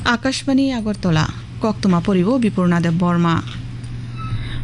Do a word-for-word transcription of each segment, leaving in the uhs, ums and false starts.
Akashbani Agartala, koktwma poribo Bipurna Deb Borma.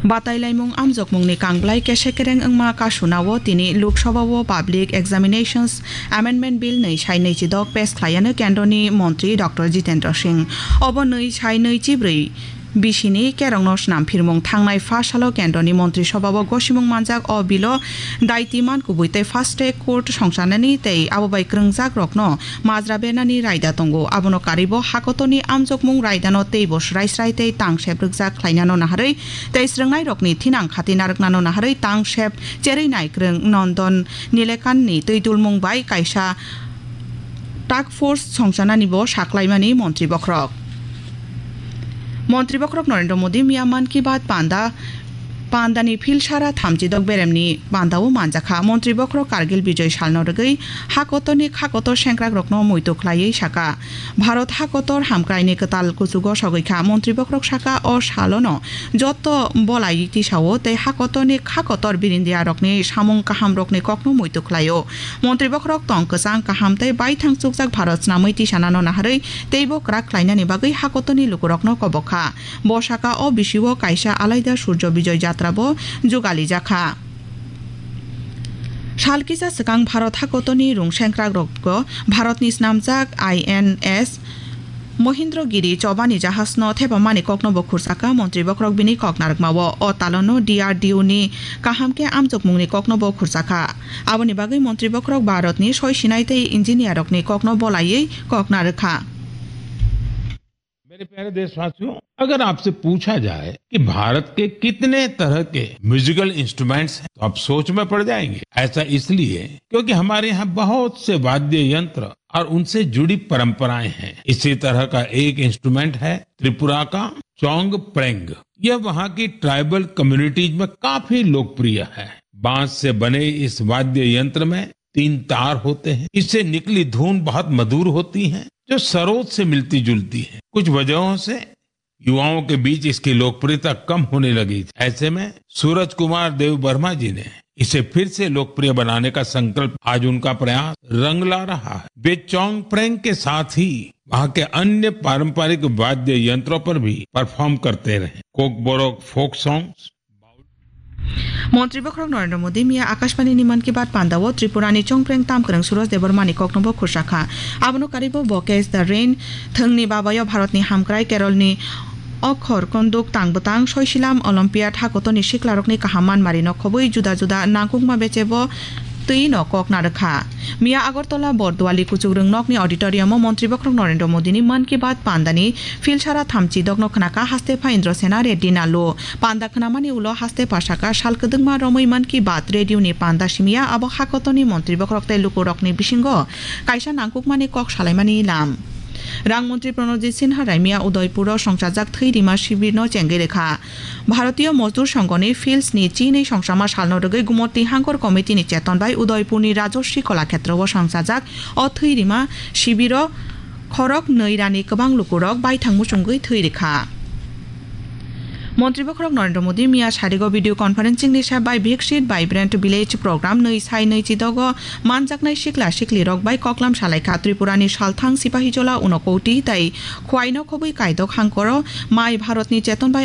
Batai laimung amjokmungni kangblai kese kereng wngma kasunao tini Lok Sabha o Public Examinations Amendment Bill nwi sai nwi chidok pes khlaiyano kendroni montri Doctor Jitendra Singh. Obo nwi sai nwi chibrwi bisini kerongno snam phirmung thangnai pha salo kendroni montri sobhao gosimung manjak. O bilo daiti man kubui tei fast track court songchanani tei abo bai kwrwngjak rokno majra bernani raida tongo. Abono karwibo hakotorni amjokmung raidano teibo srai srai tei tang sep rwkjak khlainano naharwi tei srwngnairokni thinang khati narwknano naharwi tang sep cherwi naikwrwng Nondon Nilekanni twi dulmung bai kaisa task force songchanani bo saklaimani montri bokhorok. Montri bokhorok Narendra Modi miya Mann Ki Baat panda, pandani philsara thamchi dok beremni pandao manjakha. Montri bokhorok Kargil Bijoy salno rwgwi hakotorni khakotor sengkrakrokno muitu khlaiwi saka, Bharat hakotor hamkraini kwtal kuchugo sogwi kha. Montri bokhorok saka, o salono joto bolai tisao tei hakotorni khakotor birindiarokni samung kahamrokni kokno muitu khlaio. Montri bokhorok tong kwchang kaham tei baithang chukjak Bharat snamwi tisanano naharwi teibo kwrak khlainani bagwi hakotorni lukurokno kobok kha. Bo saka o bisio kaisa alaida Surjo Bijoy Jatra bo jugalijak kha. Sal kisa swkang Bharat hakotorni rung sengkrakrokgo Bharatni snamjak I N S Mohindra Giri chobani jahasno thepamani kokno bo khursakha. Montri bokhorok bini kok narwkmao o talono D R D O ni kaham khe amjokmungni kokno bo khursakha. Aboni bagwi montri bokhorok Bharatni soi sinai tei engineer rokni kokno bolaiwi kok narwkha. मेरे प्यारे देशवासियों, अगर आपसे पूछा जाए कि भारत के कितने तरह के म्यूजिकल इंस्ट्रूमेंट्स हैं, तो आप सोच में पड़ जाएंगे। ऐसा इसलिए क्योंकि हमारे यहाँ बहुत से वाद्य यंत्र और उनसे जुड़ी परंपराएं हैं। इसी तरह का एक इंस्ट्रूमेंट है त्रिपुरा का चोंग प्रेंग। यह वहाँ की ट्राइबल कम्युनिटीज में काफी लोकप्रिय है। बांस से बने इस वाद्य यंत्र में तीन तार होते हैं। इससे निकली धुन बहुत मधुर होती है, जो सरोद से मिलती जुलती है। कुछ वजहों से युवाओं के बीच इसकी लोकप्रियता कम होने लगी। ऐसे में सूरज कुमार देव वर्मा जी ने इसे फिर से लोकप्रिय बनाने का संकल्प, आज उनका प्रयास रंग ला रहा है। वे चोंग प्रेंग के साथ ही वहाँ के अन्य पारंपरिक वाद्य यंत्रों पर भी परफॉर्म करते रहे। Kokborok folk songs, Montri bokhorok Narendra Modi miya Akashbani ni Mann Ki Baat pandao Tripura ni chongpreng tamkwrwng Suraj Debbarma ni kokno bo khursa kha. Abono karwibo bo Catch the Rain thwngni babayo Bharat ni hamkrai Kerol ni okhor konduk tang bwtang soisilam Olympiad hakotorni siklarokni kaham manmarino khobwi juda juda nangkukma bechebo twi no kok narwkha. Miya Agartala Borduali kuchukrwng nokni auditorium o Montri bokhorok Narendra Modi ni Mann Ki Baat pandani philsara thamchi dokno khnaka haste pha Indra Sena Reddy Nallu. Panda khnamani ulo haste pha saka sal kwdwkma romwi Mann Ki Baat radio ni panda simiya abo hakotorni montri bokhorok tei lukurokni bisingo kaisa nangkukmani kok salaimani lam. Rang montri Pranojit Sinha Raimia Udaipuro songchajak thwi rima sibirno chengwi rwkha. Bharatiya Mozdur Songho ni Fields ni chinwi songchama salno rwgwi Gumoti Hangkor Committee ni cheton bai Udaipur ni Rajashree Kala Khetra o songchajak o thwi rima sibiro khorok nwi rani kwbang lukurok baithang muchungwi thwi rwkha. Montri bokhorok Narendra Modi miya sarigo video conferencing ni sep bai Viksit Vibrant Village program nwi sai nwi chidogo manjaknai sikla siklirok bai koklam salaikha. Tripura ni salthang Sipahijola Unakoti tei Khwaino khobwi kaidok hangkoro mai Bharat ni cheton bai